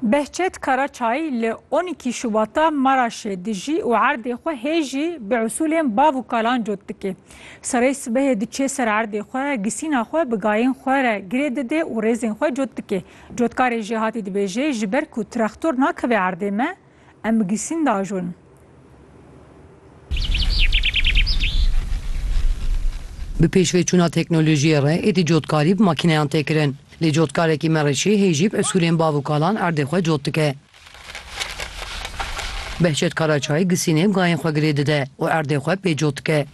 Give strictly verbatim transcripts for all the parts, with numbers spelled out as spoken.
Behçet Karaçay li on iki Şubata Maraşê dijî û erdê xwe hê jî bi usûlên bav û kalan cot dike. Serê sibehê diçe ser erdê xwe, gisîna xwe bi gayên xwe re girê dide û rêzên xwe cot dike. Cotkarê jêhatî dibêje, ji ber ku traktor nakeve erdê me, em bi gisîn diajon. Bi pêşveçûna teknolojiyê re êdî cotkarî bi makîneyan tê kirin. Lê cotkarekî Mereşî hê jî bi usûlên bav û kalan erdê xwe cot dike. Behçet Karaçay gisînê bi gayên xwe girê dide û erdê xwe pê cot dike.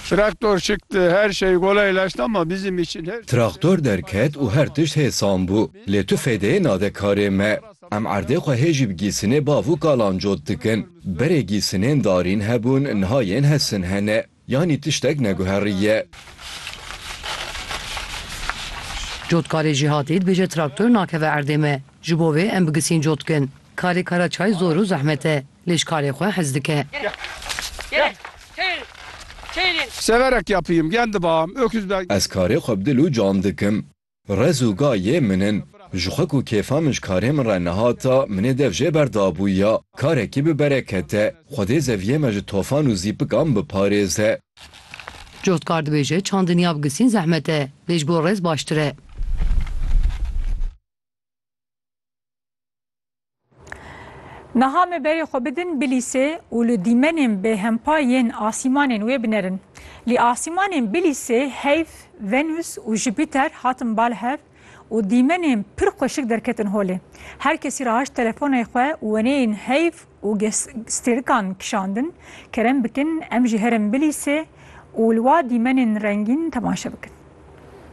Traktor çıktı, her şey kolaylaştı ama bizim için her Traktor derket û her tişt hêsan bû. Lê tu fêdeyê nade karê me. Em erdê xwe hê jî bi gîsinê bav û kalan cot dikin. Berê gîsinên darîn hebûn, niha yên hesin hene. Yanî tiştek neguheriye. Cotkarê jêhatî dibêje traktor nakeve erdê me. Ji bo vê em bi gisîn cot dikin. Karê Karaçay zor û zehmet e. Lê ji karê xwe hez dike. Gel. Çevirin. Çevirin. Severek yapayım, kendi bağım, öküzden. Ez karê xwe bi dil û can dikim. Rez û ga yê min in. Ji xwe ku kêfa min ji karê min re nehata, min ê dev jê berdabûya. Karekî bi bereket e. Xwedê zeviyê me ji tofan û zîpikan biparêze. Cotkar dibêje, çandiniya bi gisîn zehmet e, lê ji bo rez baştir e. Niha me berê xwe bidin Bilîsê û li dîmenên bêhempa yên asîmanên wê binerin. Lê asîmanên Bilîsê heyv, Venus û Jupîter hatin bal hev û dîmenên pir xweşik derketin holê. Her kesî rahişt telefonê xwe û weneyên heyv û ges-, stêrikan kişandin. Kerem bikin, em jî herin Bilîsê û li wa dîmenên rengîn temaşe bikin.